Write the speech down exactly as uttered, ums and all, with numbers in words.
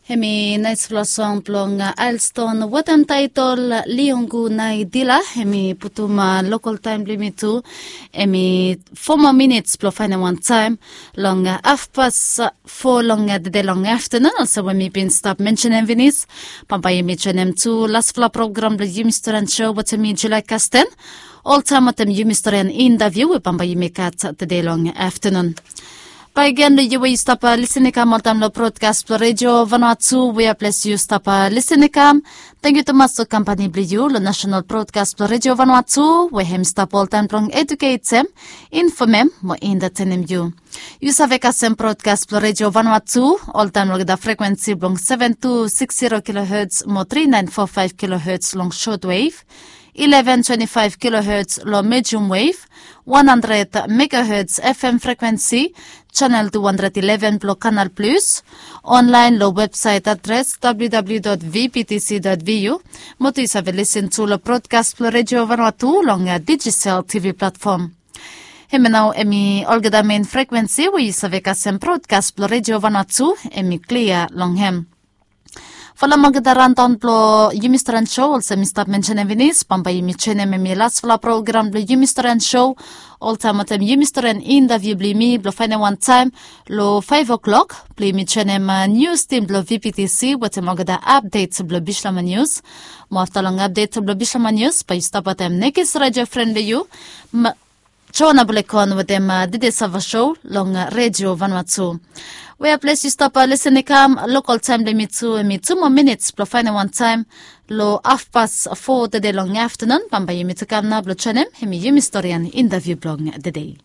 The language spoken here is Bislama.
Hemi naisfala song blong Ailston wetem taetol Liongu Naidila. Hemi putum lokal taem blong yumi tu, hemi fo moa minits blong faenem wan taem long hafpas fo long tede long aftenun, olsem we mi bin stap mensenem finis. Bambae yumi joenem tu lasfala program blong yumi storian sou wetem mi, Julia Kasten, oltaem wetem yumi storian intaviu we bambae yumi gat tede long aftenun. Bae gen long yu we yu stap lisin i kam oltaem long brodkas blong Redio Vanuatu wea ples yu stap lisin i kam. Tangkiu tumas long kampani blong yu long nasenal brodkas blong Redio Vanuatu, we hem stap oltaem blong eduketem, infomem mo entatenem yu. Yu save kasem brodkas blong Redio Vanuatu oltaem long olgeta frekwensi blong seven two six zero kilohertz mo three nine four five kilohertz long shortwave, eleven twenty-five kilohertz long medium wave, one hundred megahertz F M frekwensi, channel two hundred eleven blong Canal Plus, online long websaet adres W W W dot V B T C dot V U, mo tu yu save lisin tu long brodkas blong Redio Vanuatu long digital T V platform. Hemia nao hemi olgeta mein frekwensi we yu save kasem brodkas blong Redio Vanuatu hemi klia long hem. Folem olgeta raondaon blong yumi storian sou, olsem mi stap mensenem finis, bambae yumi joenem hemi lasfala program blong yumi storian sou, oltaem wetem yumi storian intaviu blong yumi blong faenem wan taem long faef o'clock, blong yumi joenem nius tim blong V B T C wetem olgeta apdet blong Bislama Nius. Mo afta long apdet blong Bislama Nius bae yu stap wetem nekis redio fren blong yu, Joana Bulekon wetem Dede Sava Sou long Redio Vanuatu. Wea ples yu stap lisin i kam, lokal taem blong yumi tu hemi tu moa minits blong faenem wan taem long hafpas fo tede long aftenun. Bambae yumi tu kam nao blong joenem hemi yumi storian intaviu blong tede.